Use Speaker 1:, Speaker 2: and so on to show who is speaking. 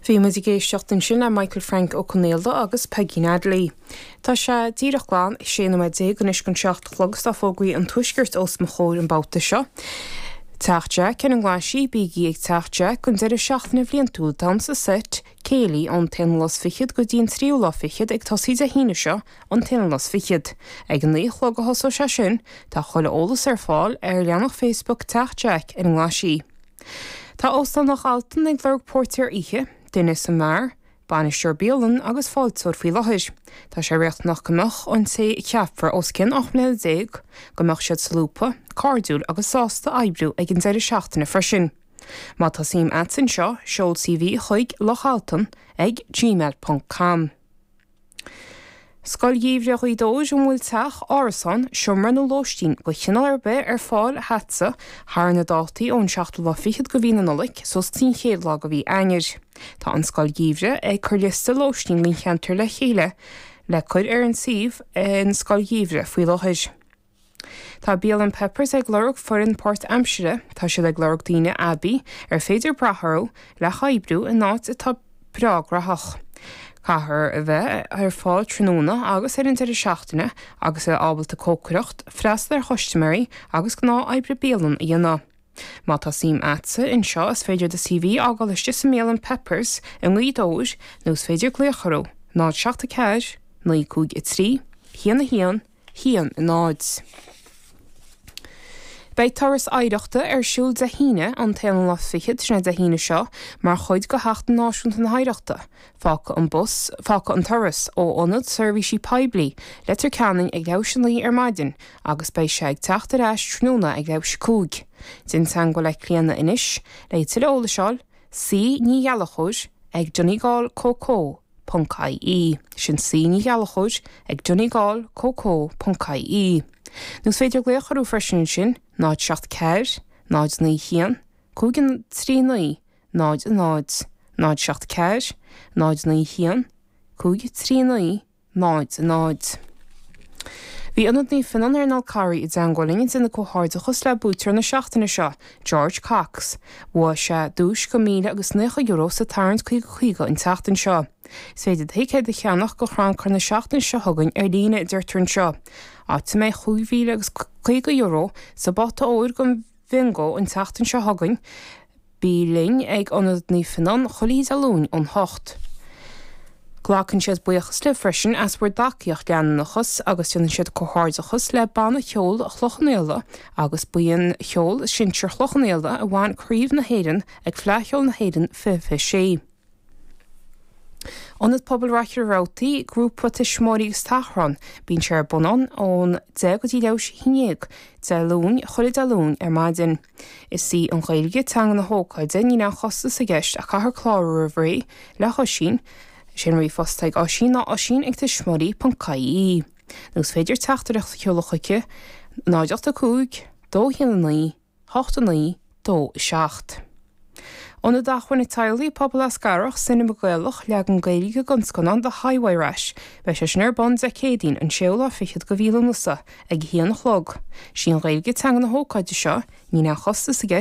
Speaker 1: Bhí muid ag éisteacht ansin le Michael Frank Ó Conaola agus Peigín Adley. Tá sé díreach glan 16 nóiméad anois don 7 a chlog is tá fógraí an Tuaiscirt os mo chomhair an babhta seo. Teach Jack ar an nGlaisigh, bígí ag Teach Jack don deireadh seachtaine bhliantúil damhsa seit, céilí ón t-aonú lá is fichead go dtí an tríú lá fichead ag tosaí Dé hAoine seo an t-aonú lá is fichead. Ag a naoi a chlog a thosóidh sé sin. Tá chuile eolas ar fáil ar leathanach Facebook Teach Jack ar an nGlaisigh. Tá Óstán Loch Altan ag lorg póirtéir oíche, duine sa mbeár, bainisteoir bialann agus fáilteoir faoi láthair. Tá sé riachtanach go mbeadh an té a cheapfar os cionn 18 mbliana, go mbeadh siad solúbtha, cairdiúil agus sásta oibriú ag an deireadh seachtaine freisin. Má tá suim a't anseo, seol CV chuig lochaltan ag gmail ponc com. Scoil Gheimhridh Ghaoth Dobhair An bhfuil teach, árasán, seomra nó lóistín de chineál ar bith ar fáil agatsa thar na dátaí ón seachtú lá fichead de mhí na Nollag suas go dtí an chéad lá de mhí Eanáir? Tá an Scoil Gheimhridh ag cur liosta lóistín don cheantar le chéile le cur ar an suíomh an Scoil Gheimhridh faoi láthair. Tá Bialann Peppers ag lorg foireann páirt-aimsire. Tá siad ag lorg daoine aibí ar féidir brath orthu le hoibriú in áit atá breá graitheach. Caithfear a bheith ar fáil tráthnóna agus ar an deireadh seachtaine agus a bheith ábalta cócaireacht, freastal ar chustaiméirí agus gnáth-oibre bialann a dhéanamh. Má tá suim a'tsa anseo is féidir do CV a fhágáil istigh sa mbialann Peppers i nGaoth Dobhair nó is féidir glaoch orthu, 0 7 4 9 5 3 1 1 1 0. Beidh turas oidhreachta ar siúl Dé hAoine, an t-aonú lá fichead, sin é Dé hAoine seo, mar chuid de Sheachtain Náisiúnta na hOidhreachta. Fágfaidh an bus, fágfaidh an turas, ó Ionad Seirbhísí Poiblí, Leitir Ceanainn ag leathuair théis a naoi ar maidin agus beidh sé ag teacht ar ais tráthnóna ag leathuair théis a cúig. Déan teagmháil le Clíona anois le tuilleadh eolais a fháil, C Ní Ghallchóir ag Donegal Co Co. ponc ie. Sin C Ní Ghallchóir ag Donegal Co Co. ponc ie. Nó is féidir glaoch orthu freisin ansin, 0 7 4 0 9 1 5 3 9 0 0 0 7 4 0 9 1 5 3 9 0 0. Bhí Ionad Naomh Fionnán ar an Fhál Carraigh i dteangmháil linn ag déanamh comhghairdeachas le buaiteoir na seachtaine seo, George Cox. Bhuaigh sé duais de €1,090 sa tarraingt 50 50 an tseachtain seo. Is féidir do thicéad a cheannach do chrannchur na seachtaine seo chugainn ar líne, a deirtear anseo, áit a mbeidh €5,050 sa bpota óir don Bhiongó an tseachtain seo chugainn. Bí linn ag Ionad Naomh Fionnán chuile oíche Dé Luain ón hocht. Glacann siad buíochas libh freisin as bhur dtacaíocht leanúnachas agus déanann siad comhghairdeachas le Banna Cheoil Chloich Cheann Fhaola agus Buíon Cheoil Sinsir Chloich Cheann Fhaola a bhain Craobh na hÉireann ag Fleadh Cheoil na hÉireann 2026. Ionad Pobail Mhachaire Rabhartaigh, Grúpa Tuismitheoirí agus Tachrán, bíonn sé ar bun ann ón 10 go dtí leathuair théis a haon déag Dé Luain, chuile Dé Luain ar maidin. Is í an Ghaeilge teanga na hócáide, níl aon chostas i gceist ach caithfear clárú roimh ré le hOisín. Is é an ríomhphost atá ag Oisín ná oisín ag tuismitheoirí ponc ie. Nó is féidir teachtaireacht a sheoladh chuici, 0 8 5 2 1 9 8 9 2 7. Ionad Acmhainne Teaghlaigh, Pobal Eascarrach, Cinema Gaelach, leagan Gaeilge den scannán The Highway Rat. Beidh sé sin ar bun Dé Céadaoin, an séú lá fichead de mhí Lúnasa, ag a haon a chlog. Sí an Ghaeilge teanga na hócáide seo, níl aon chostas i gceist.